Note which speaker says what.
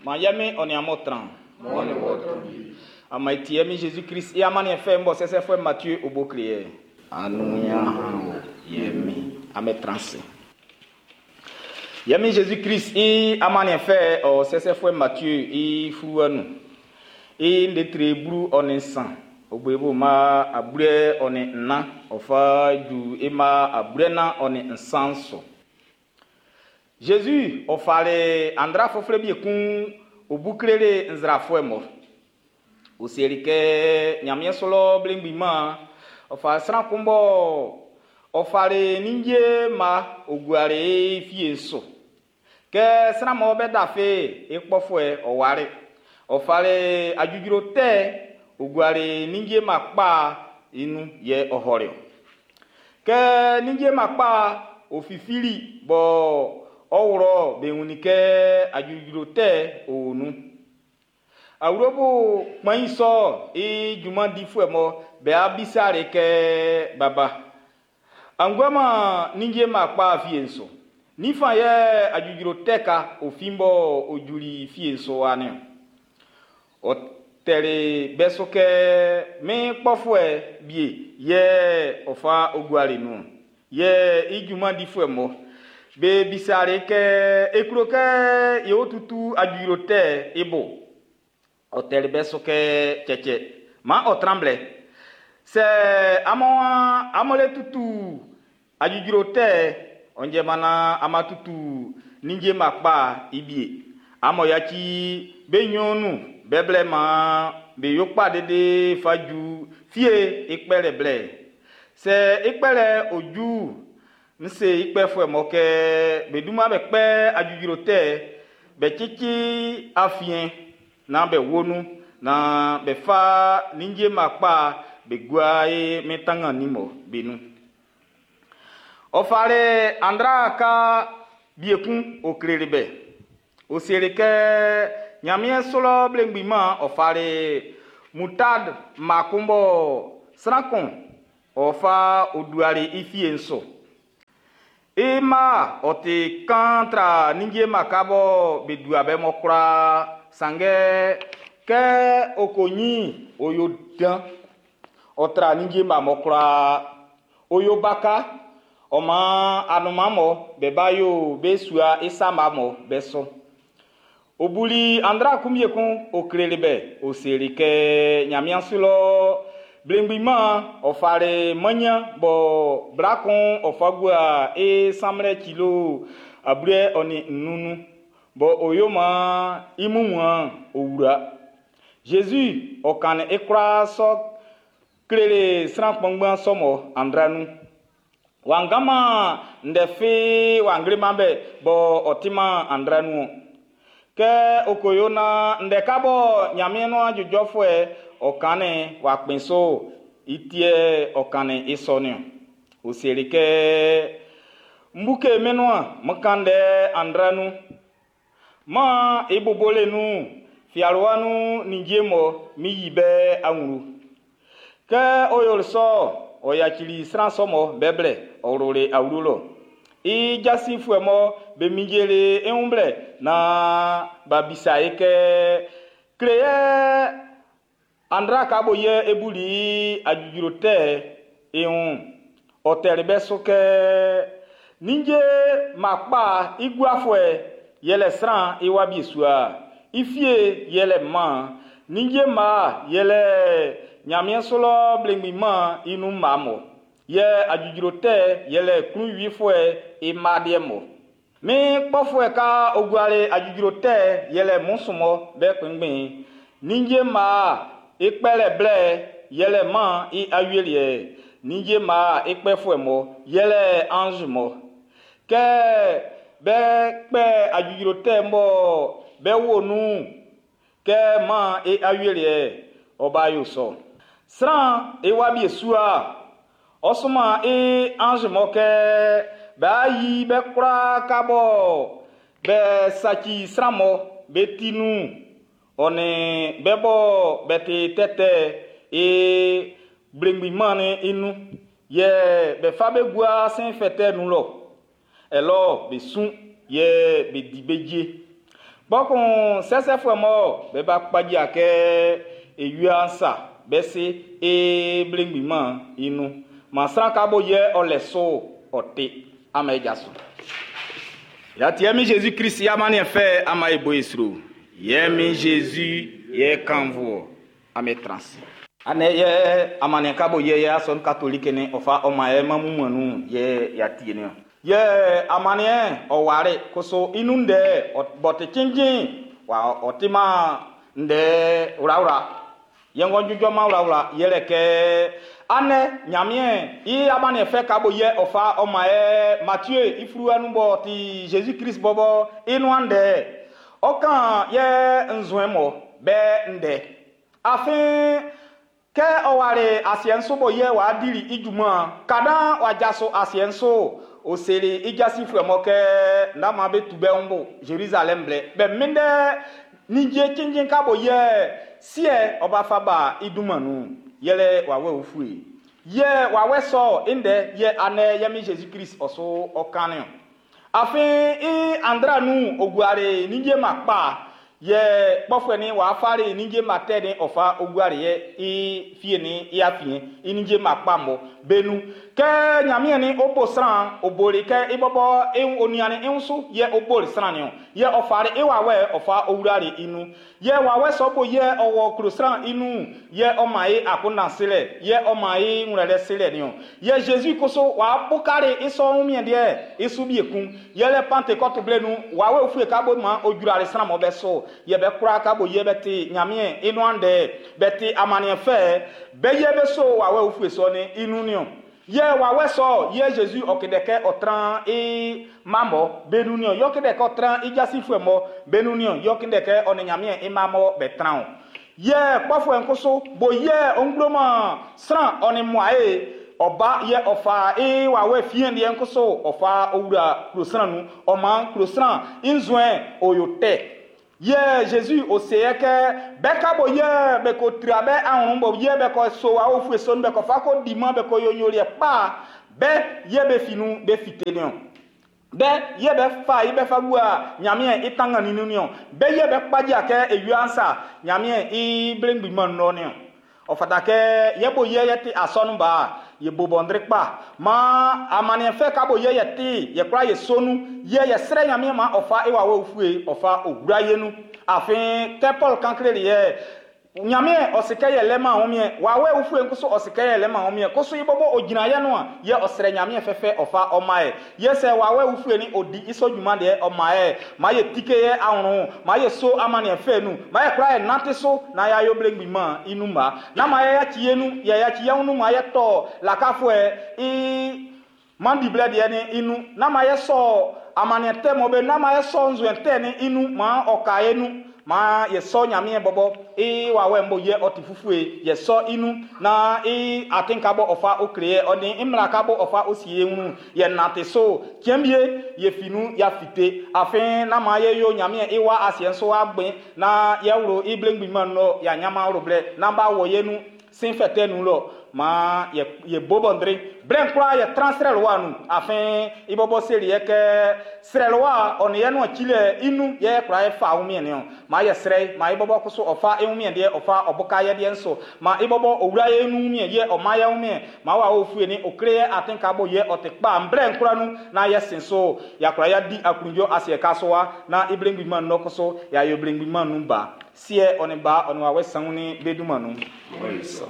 Speaker 1: Man ye Min ɔ nin amun tran.
Speaker 2: Maan ɔ nin wɔ tran wie.
Speaker 1: Amun e tie e Min Jésus Christ i amanniɛn fɛ'n b'ɔ sɛsɛfuɛ Matthieu o bo kle ye. Anuya o ye Min, amun tran ase. Ye Min Jésus Christ i amanniɛn fɛ ɔ sɛsɛfuɛ Matthieu i fluwa nun. I ndɛ 13, ɔ bo i bo mma 24, ɔ fa ju i mma 43 su. Jésus ɔ fali andra fufle bi kun o bu kleli nzrafuɛ mɔ. O seli kɛ Ɲanmiɛn su lɔ blengbin man ɔ fa sran kun bɔ ɔ fali ninnge mma o guali i fie'n su. Kɛ sran mɔ be dafe i kpɔfuɛ ɔ wari. Ɔ fali adjudjro tɛ o guali ninnge mma kpa i nun yɛ ɔ hɔli o. Kɛ ninnge mma kpa o fifili bɔ ɔ wlɔ be wunnin kɛ adjudjro tɛ o nun. Awlobo kpan sɔ i junman difuɛ mɔ be abisare kɛ baba. Anguama ninnge mma kpa fie'n su. Nifa yɛ adjudjro tɛ ka o fin bɔ o juli fie'n su wa niɔn. Ɔ tɛli bɛ su kɛ min kpɔfuɛ bie yɛ ɔ fa o guali nun. Yɛ i junman difuɛ mɔ be bisare kɛ e klo kɛ ye o tutu adjudjro tɛ i bo. Ɔ tɛli bɛ su kɛ cɛcɛ man ɔ tran blɛ. Sɛ amun le tutu adjudjro tɛ ɔ njɛman na ama tutu ninnge mma kpa i bie. Amun yaci be nɲɔn nun bɛ blɛ man be yo kpa dede fa ju fie i kpɛlɛ blɛ. Sɛ i kpɛlɛ o ju n se i kpɛfuɛ mɔ kɛ be dunman be kpɛ adjudjro tɛ be cici afiɛn na be wo nun na be fa ninnge mma kpa be gua i min tangan mɔ be nun. Ɔ fali andra ka biekun o kleli bɛ. O seli kɛ Ɲanmiɛn su lɔ blengbin man ɔ fali mutard mma kun bɔ sran kun ɔ fa o duali i fie'n su. I mma ɔ ti kan tra ninnge mma ka bɔ be dua bɛ mɔ koraa sanngɛ kɛ o ko nyin o yo dan ɔ tra ninnge mma mɔ koraa o yo baka ɔ man anunman mɔ be ba yo be sua i sama mɔ be so. O buli andra kun bie kun o kleli bɛ o seli kɛ Ɲanmiɛn su lɔ blengbin man ɔ fali manya bɔ bla kun ɔ fa gua i sanmlɛ kilo ablɛ ɔ nin nnun bɔ o yo man i mumuan o wura. Jésus ɔ kannin i kwlaa sɔ kleli sran kpanngban sɔ mɔ andra nun. Wangama ndɛ fi wangleman bɛ bɔ ɔ ti man andra nun. Kɛ o ko yo na ndɛ ka bɔ Ɲanmiɛn nuan jɔjɔfuɛ ɔ kannin wa kpɛn so i tiɛ ɔ kannin i sɔ niɔn. O seli kɛ mbuke menua mkan ndɛ andra nun. Man i bobole nun fialua nun ninnge mɔ mi yi bɛ anwlu. Kɛ o yoli sɔ ɔ yacili sran sɔ mɔ bɛ blɛ ɔ wluli awlo lɔ. I jasifuɛ mɔ be minjeli i wun blɛ na ba bisa i kɛ kle yɛ andra ka bo yɛ ebuli adjudjro tɛ i wun. Ɔ tɛli bɛ su kɛ ninnge mma kpa i guafuɛ yɛlɛ sran i wa bie sua. I fie yɛlɛ man ninnge mma yɛlɛ Ɲanmiɛn su lɔ blengbin man i nun mma mɔ. Yɛ adjudjro tɛ yɛlɛ klunwifuɛ i mma deɛ mɔ. Min kpɔfuɛ ka o guali adjudjro tɛ yɛlɛ musu mɔ bɛ kpɛngbɛn. Ninnge mma i kpɛlɛ blɛ yɛlɛ man i awieliɛ. Ninnge mma i kpɛfuɛ mɔ yɛlɛ ange mɔ. Kɛ bɛ kpɛ adjudjro tɛ mɔ bɛ wo nun kɛ man i awieliɛ ɔ ba yo sɔ. Sran i wa bie sua ɔ suma i ange mɔ kɛ b'a yi bɛ kwlaa ka bɔ bɛ saci sran mɔ be ti nun ɔ nin bɛ bɔ bɛ ti tɛtɛ i blengbin man ni i nun yɛ bɛ fa be gua sin fɛtɛ nun lɔ ɛlɔ be sun yɛ be di be je. Kpɔkun sɛsɛfuɛ mɔ be ba kpaja kɛ ewia sa be se e blengbinman i nun. Ma sran ka bo yɛ ɔ lɛ so ɔ te ama e jaso. Yati mi Jésus Christ ya mani fɛ ama e bo esro. Yɛ mi Jésus yɛ kanvo ame transi. Ane yɛ amane ka bo yɛ yɛ ason catholique ni ɔfa ɔma yɛ mamu manu yɛ yati ni. Yɛ amane ɔware koso inu ndɛ bɔte cincin wa ɔtima ndɛ wrawra. Yɛ ŋgɔ dzudzɔ ma wrawra yɛlɛ kɛ ane nyamie i amane fɛ ka bo yɛ ɔfa ɔma yɛ Mathieu ifuru nu bɔ ti Jésus Christ bɔbɔ inu andɛ ɔkan yɛ nzɔɛ mɔ bɛ ndɛ afin kɛ ɔware asiɛ bo yɛ wa dili idjuma kada wa dzaso asiɛ nso osele idzasi fue mɔ kɛ ndama be tu bɛ ŋbo Jérusalem blɛ bɛ mi dɛ nidze cincin ka bo yɛ siɛ ɔba fa ba idumanu yɛlɛ wawɛ ofue yɛ wawɛ sɔ ndɛ yɛ anɛ yɛ mi Jésus Christ ɔso ɔkani o afin i andra nu oguare nidze ma kpa yɛ kpɔfɛ ni wàá fari nidze ma tɛ ni ɔfa oguare yɛ i fie ni i afie i nidze ma kpa mɔ benu kɛ nyamie ni obo sran obori kɛ ibɔbɔ ewu onuani eŋusu yɛ obori sran ni o yɛ ɔfari ewawɛ ɔfa owurare inu yɛ wawɛ sɔbo yɛ ɔwɔ kuro sran inu yɛ ɔma ye akonasilɛ yɛ ɔma ye ŋlɛlɛ silɛ ni o yɛ Jésus koso wàá bukari isɔ ŋumiɛ deɛ isu biekun yɛ lɛ Pentecôte blenu wawɛ ofue kabo ma odzurare sran mɔ bɛ so yɛ bɛ kura kabo yɛ bɛ te nyamie inu andɛ bɛ te amaniɛ fɛ bɛ yɛ bɛ so wawɛ ofue sɔ ni inu ni o yɛ wawɛ sɔ yɛ Jésus ɔkidɛkɛ ɔtran e mamɔ benu ni o yɛ ɔkidɛkɛ ɔtran idzasi fue mɔ benu ni o yɛ ɔkidɛkɛ ɔni nyamie emamɔ bɛ tran o yɛ kpɔfue nkoso bo yɛ ŋgbloma sran ɔni mua ɔba yɛ ɔfa e wawɛ fie deɛ nkoso ɔfa owura kurosran nu ɔma kurosran nzɔɛ oyo tɛ yɛ Jésus ose yɛ kɛ bɛ ka bo yɛ bɛ ko tira bɛ ahun bo yɛ bɛ kɔ so awo fue so nu bɛ kɔ fa ko di ma bɛ kɔ yonyori yɛ kpa bɛ yɛ bɛ finu bɛ fite ni o bɛ yɛ bɛ fa yi bɛ fa gua nyamie itanga ninu ni o bɛ yɛ bɛ kpadza kɛ ewia nsa nyamie i blengbima nɔ ni o ɔfata kɛ yɛ bo yɛ yɛ ti asɔnu ba yɛ bo bɔndri kpa ma amaniɛ fɛ ka bo yɛ yɛ ti yɛ kura yɛ sonu yɛ yɛ srɛ nyamie ma ɔfa ewa wo fue ɔfa owura yɛ nu afin kɛ Paul kankle yɛ nyamie ɔsikɛ yɛ lɛ ma wɔn wawɛ ofue nkoso ɔsikɛ yɛ lɛ ma wɔn koso yi bɔbɔ ogyina yɛ no a yɛ ɔsrɛ nyamie fɛfɛ ɔfa ɔma yɛ yɛ sɛ wawɛ ofue ni odi isɔ dwuma deɛ ɔma yɛ ma yɛ tike yɛ ahoro ma yɛ so amaniɛ fɛ nu ma yɛ kura yɛ nante so na yɛ ayɔ blengbima ma inu ma na ma yɛ yakyi yɛ nu yɛ yakyi yɛ nu ma yɛ tɔ lakafoɛ i mandiblɛ deɛ ni inu na ma yɛ sɔ amaniɛ tɛ mɔ be na ma yɛ sɔ nzɔɛ tɛ ni inu ma ɔka yɛ nu ma yɛ sɔ nyamie bɔbɔ e wawɛ mbɔ yɛ ɔti fufue yɛ sɔ inu na e atinka bɔ ɔfa okle yɛ ɔni imlaka bɔ ɔfa osi ye ŋu yɛ nate so tiɛnbie yɛ finu ya fite afin na ma yɛ yo nyamie ewa asiɛ nso agbe na yɛ wuro iblengbima nɔ ya nyama wuro blɛ na ba wɔ yɛ nu sin fɛtɛ nu lɔ ma yɛ yɛ bobɔndri blɛn kura yɛ tran srɛlwa nu afin ibɔbɔ seli yɛ kɛ srɛlwa ɔni yɛ nu tsi inu yɛ kura yɛ fa wumie ni o ma yɛ srɛ ma ibɔbɔ koso ɔfa ewumie deɛ ɔfa ɔbɔka yɛ deɛ nso ma ibɔbɔ owura yɛ nu wumie yɛ ɔma yɛ wumie ma wa ofue ni okre yɛ atinka bo yɛ ɔte kpa blɛn kura nu na yɛ sin so yakura yɛ di akundzo asiɛ ka so wa na iblengbima nɔ koso yayɔ blengbima nu ba siɛ ɔni ba ɔni wa wɛ sanwó ni beduma nu.
Speaker 2: Ɔyisɔ.